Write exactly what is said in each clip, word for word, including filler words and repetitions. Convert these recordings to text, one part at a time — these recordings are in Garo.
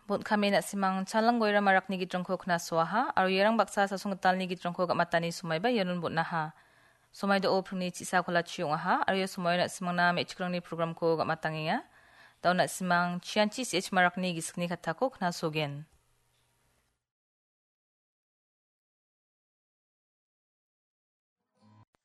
Bon kame na·simang Chalang Goira Marakni gitrangko knasoaha, aro iarang baksa Sasong Gitalni gitrangko gamatani somaiba ianon bon·aha. Somai do·o pringni chisa kolachi ong·aha, aro ia somaio na·simangna me·chikrangni programko gamatangenga. Da·o na·simang Chianchi C H Marakni gisikni kattako knasogen.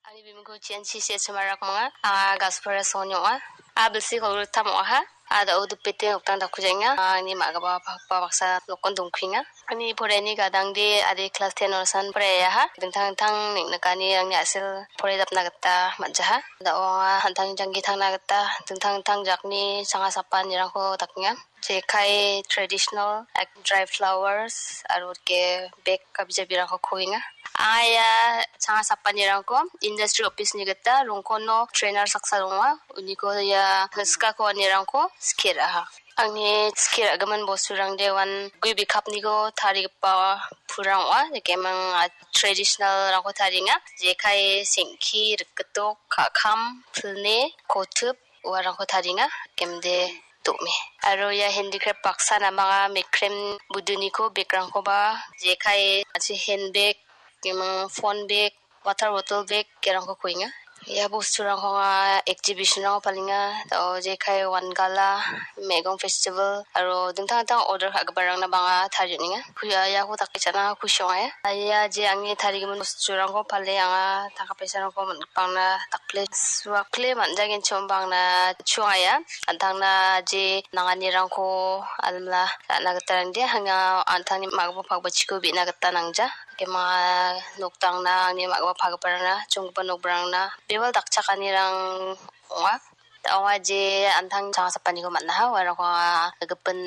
Ani bimingko Chianchi C H Marak manga. Anga Gaspara Soni ong·a. A bilsi kolgrittam ong·aha. A da·o dipete noktang dakkujaenga. Angni ma·gipa pakpa baksa nokon dongkuenga. Ani poraiani gadangde ade klas ten onasan poraiaha. Dingtang dingtang neng·nikani angni a·sel poraidapna gita man·jaha. Da·o anga an·tangni janggi tangna gita dingtang dingtang jakni changa sapanirangko dakenga. Jekai traditional, like, dry flowers, aro ke bag kabija birangko kuenga. Anga ia changa sapanirangko industry office-ni gita rongkono trainer saksa donga. Uniko ia skako anirangko skie ra·aha. Angni skie ra·gimin bosturangde uan gue bikapniko tarigipa pulrang ong·a. Jekemang, ah, traditional-rangko tarienga. Jekai, sengki, rikgitok, ka·kam, pilni, kotip, uarangko tarienga, kemde do·me. Aro ia handicraft baksa namanga mekrem buduniko bag-rangkoba jekai, achi handbag, kemang phone bag, water bottle bag, kerangko kuenga. Ia bosturangko anga exhibition-rango palenga, da·o jekai Wangala, Megong Festival, aro dingtang dingtang order ka·giparangna bang·a tarie on·enga. Ku-, ia, iako dake cha·na kusi ong·a ia. Ia je angni tarigimin bosturangko pale anga tangka paisarangko man-, bang·na dakple suakple man·jagenchim bang·na chuangaia. An·tangna je nanganirangko almila ra·na gita rangde, anga an·tangni ma·gipa pakbachiko be·na gita nangja. Kema noktangna angni ma·gipa pakgiparangna, chonggipa nokrangna bebal dakchakanirang ong·a. Da·o anga je an·tang changa sapaniko man·aha, uarangko anga gipin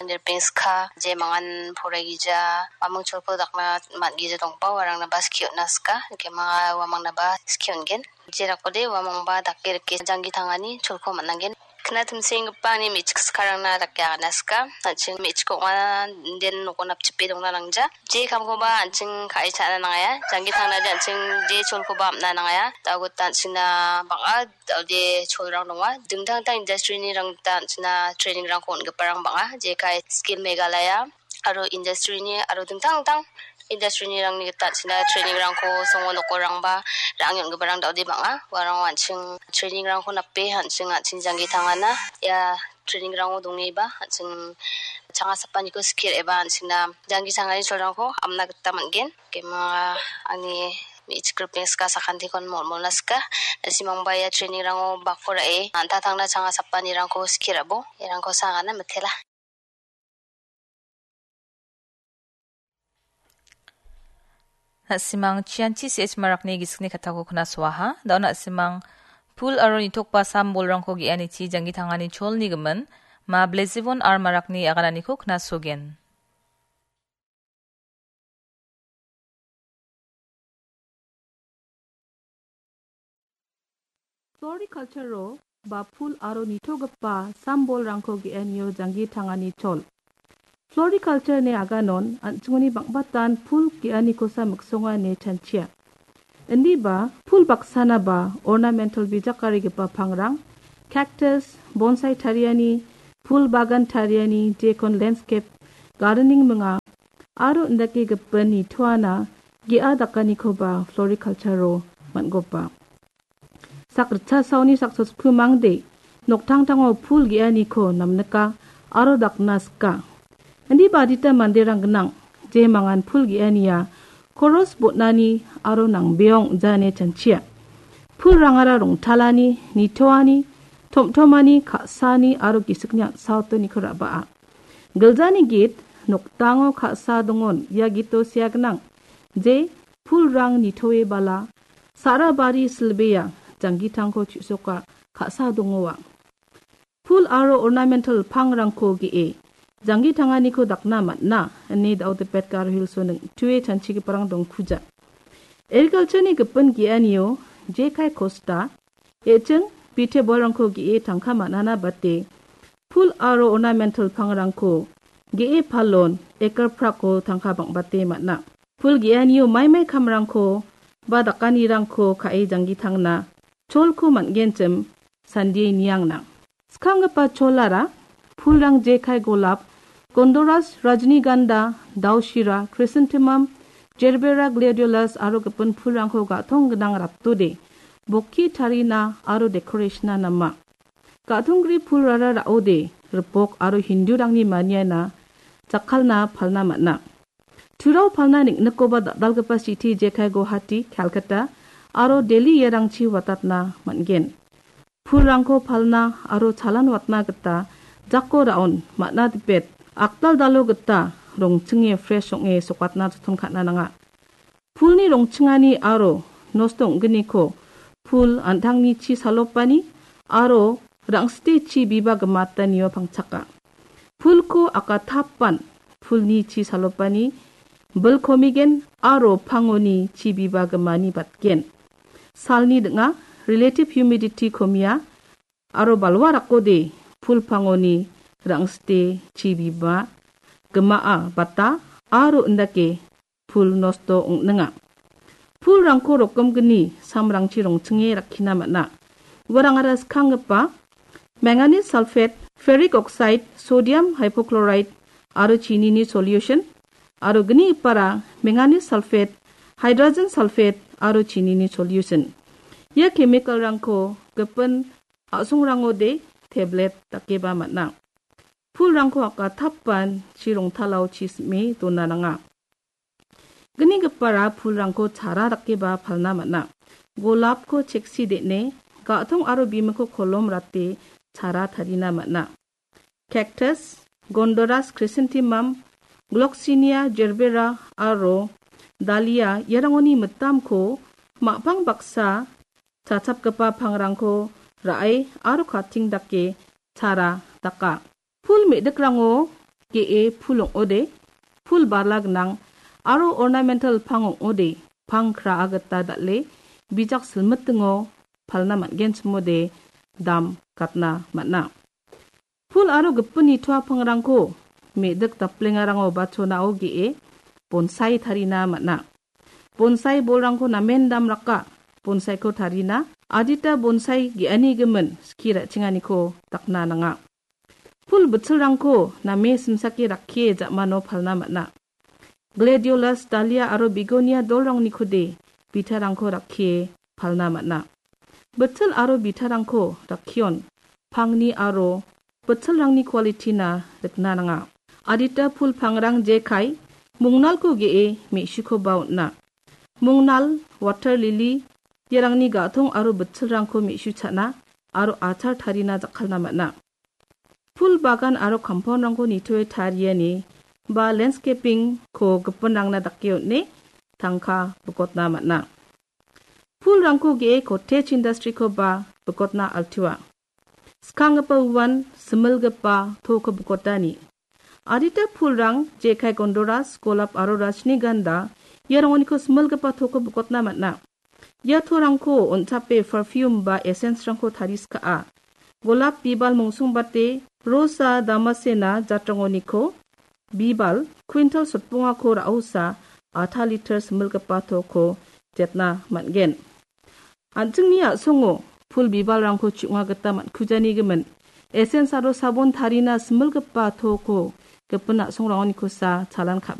nirpengska, je mangan poraigija, uamang cholko dakna man·gija dongba, uarangnaba skie on·na sika, kema uamangnaba skie on·gen. Jerakode uamangba dake rike janggi tangani cholko man·angen. Kna timsenggipa ani me·chik sikarangna dake agana sika. An·ching me·chik ong·a, inden noko napchipe dongna nangja. Je kamkoba an·ching ka·e cha·na nangaia. Janggi tangnade an·ching je cholkoba am·na nangaia. Da·o gita an·chingna bang·a da·ode cholrang donga. Dingtang dingtang industry-ni rang gita an·chingna training-rangko on·giparang bang·a. Jekai Skill Meghalaya aro industry-ni aro dingtang dingtang industry-ni rangni gita an·chingna training-rangko songo nokorangba ra·ange on·giparang da·ode bang·a. Uarang an·ching training-rangko nape an·ching, an·ching janggi tangana. Ia training-rango dongeba an·ching changa sapaniko skie ra·eba an·chingna janggi tangani cholrangko amna gita man·gen. Kema angni me·chik ripeng sika sakantikon mol·molna sika. Na·simangba ia training-rango bako ra·e an·tangtangna changa sapanirangko skie ra·bo. Iarangko sangana mitela. Na·simang Chianchi C H Marakni gisikni kattako knasoaha. Da·o na·simang pul aro nitokba sam bolrangko ge·anichi janggi tangani cholni gimin Ma Blezivon R Marakni agananiko knasogen. Floriculture-o ba pul aro nitogipa sam bolrangko ge·anio janggi tangani chol. Floriculture-ni aganon an·chingoni bang·batan pul ge·anikosa miksonga ine chanchia. Indiba pul baksana ba ornamental bijakarigipa pangrang, cactus, bonsai tariani, pul bagan tariani, jekon landscape gardening minga, aro indake gipin nitoana ge·a dakanikoba floriculture-o man·gopa. Sak ritchasaoni sak sosku mangde noktangtango pul ge·aniko namnika aro dakna sika. Indiba adita manderang gnang, je mangan pul ge·ania koros botnani aro nangbeong ong·jane chanchia. Pulrangara rongtalani, nitoani, tom·tomani, ka·sani aro gisikni an·saotoniko ra·baa. Giljani git nokdango ka·sa dongon, ia gito sea gnang, je pulrang nitoe bala, sa·ra bari silbea, janggitangko chu·soka, ka·sa dongoa. Pul aro ornamental pangrangko ge·e, janggitanganiko dakna man·a, ine Daodipet Garo Hills-o ning·tue chanchigiparang dongkuja. Agriculture-ni gipin ge·anio, jekai kosta, e·ching, bite bolrangko ge·e tangka man·ana bate, pul aro ornamental pangrangko ge·e palon, ekar prako tangka bang·bate man·a. Pul ge·anio maimai kamrangko ba dakanirangko ka·e janggitangna cholko man·genchim sandie niangna. Skanggipa cholara pulrang jekai golap, Gondoras, Rajnigandha, Daoshira, Chrysanthemum, Gerbera, Gladiolus aro gipin pulrangko ga·tong gnang ratode bokki tarina aro decoration-na nama. Ga·tonggri pulrara ra·ode ripok aro Hindurangni maniana jakkalna palna man·a. Turao palna niknikoba dal·dalgipa city jekai Guwahati, Calcutta aro Delhi iarangchi watatna man·gen. Pulrangko palna aro chalan watna gita jako ra·on man·a dipet, akdal dalo gita rongchinge fresh ong·e sokatna joton ka·na nanga. Pulni rongchingani aro nosto ong·gniko pul an·tangni chi salopani aro rang·site chi biba gimatanio pangchaka. Pulko akatapan pulni chi salopani bilkomigen aro pangoni chi biba gimani batgen. Salni ding·a, relative humidity komia aro balwa rakode pul pangoni rang·site chi biba gimaa bata aro indake pul nosto ong·ninga. Pulrangko rokgimgni samrangchi rongchinge rakkina man·a. Uarangara skanggipa manganese sulfate, ferric oxide, sodium hypochlorite aro chinini solution, aro gnigipara manganese sulfate, hydrogen sulfate aro chinini solution. Ia chemical-rangko gipin a·songrangode tablet dakeba man·a. Pulrangko akatapan chi rongtalao chi sim·e dona nanga. Gnigipara pulrangko chara dakeba palna man·a. Golapko cheksi de·ne, ga·tong aro bimikko kolom rate chara tarina man·a. Cactus, Gondoras, Chrysanthemum, Gloxinia, Gerbera aro Dahlia iarangoni mitamko ma·pang baksa chachapgipa pangrangko ra·e aro kating dake chara daka. Pul me·dikrango ge·e pul ong·ode, pul bala gnang aro ornamental pang ong·ode, pang kraa gita dal·e bijak silmitingo palna man·genchimode dam gatna man·a. Pul aro gipin nitoa pangrangko me·dik daplengarango ba chonao ge·e bonsai tarina man·a. Bonsai bolrangko namen dam raka, bonsaiko tarina adita bonsai ge·ani gimin skie ra·chenganiko dakna nanga. Pul bitchilrangko name simsake rakkie ja·mano palna man·a. Gladiolus, Dahlia aro Begonia dolrangnikode bitarangko rakkie palna man·a. Bitchil aro bitarangko rakkion pangni aro bitchilrangni quality-na rikna nanga. Adita pul pangrang jekai, mongnalko ge·e me·sikoba on·a. Mongnal, water lily, iarangni ga·tong aro bitchilrangko me·su cha·na aro achar tarina jakkalna man·a. Pul bagan aro compound-rangko nitoe tariani ba landscaping-ko gipinrangna dake on·e tangka bikotna man·a. Pulrangko ge·e cottage industry-koba bikotna altua. Skanggipa uan similgipa toko bikotani. Adita pulrang jekai Gondoras, Golap aro Rajnigandha iarangoniko similgipa toko bikotna man·a. Ia torangko on·chape perfume ba essence-rangko tariskaa. Golap bibal mongsongbate Rosa damascena jatrangoniko bibal quintal sotbongako ra·osa atha liter similgipa toko jetna man·gen. An·chingni a·songo pul bibalrangko chu·onga gita man·kujani gimin essence aro sabon tarina similgipa toko gipin a·songrangonikosa chalan ka·,